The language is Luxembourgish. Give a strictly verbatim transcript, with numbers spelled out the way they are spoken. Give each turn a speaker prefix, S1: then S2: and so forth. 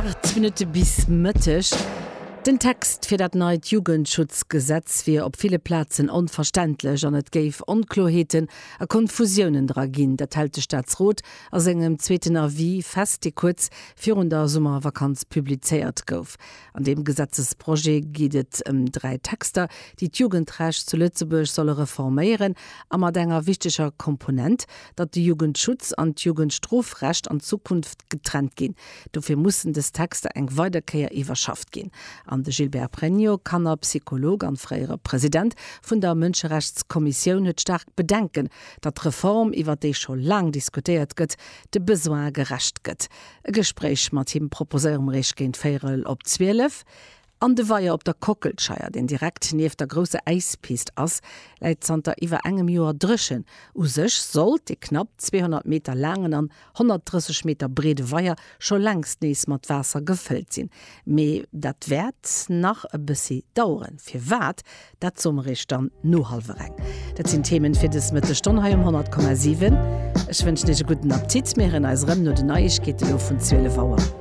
S1: Aacht Minutte bis Mëtteg. Den Text fir dat neit Jugendschutzgesetz wier op ville Plazen onverständlech an et géif Onkloerheeten a Konfusiounen dra ginn. Dat hält de Staatsrot a sengem zweeten Avis fest, dee kuerz virun der Summervakanz publizéiert gouf. An deem Gesetzesprojet geet et ëm dräi Texter, déi d'Jugendrecht zu Lëtzebuerg solle reforméieren a mat enger wichteger Komponent, datt de Jugendschutz an d'Jugendstrofrecht an Zukunft getrennt ginn. Dofir mussen dës Texter eng weider Kéier iwwerschafft ginn. An de Gilbert Pregno, Kannerpsycholog an fréiere President vun der Mënscherechtskommissioun, huet staark Bedenken, datt d'Reform, iwwer déi scho laang diskutéiert gëtt, de Besoine gerecht gëtt. E Gespréich mat him proposéiere mer Iech géint véierel op zwielef. An de Weier op der Kockelscheier, deen direkt nieft der grousser Äispist ass, läit zanter iwwer engem Joer dréchen. U sech sollt dee knapp zweehonnert Meter laangen an honnertdrësseg Meter breede Weier scho längst nees mat Waasser gefëllt sinn. Mee dat wäert nach e bëssi daueren. Firwat, dat soe mer iech dann no hallwer eng. Dat sinn d'Themen fir dës Mëttesstonn hei um honnert Komma siwen. Ech wënschen iech e gudden Appetit. Mir héieren eis erëm no den Neiegkeete lo vun zwielef Auer.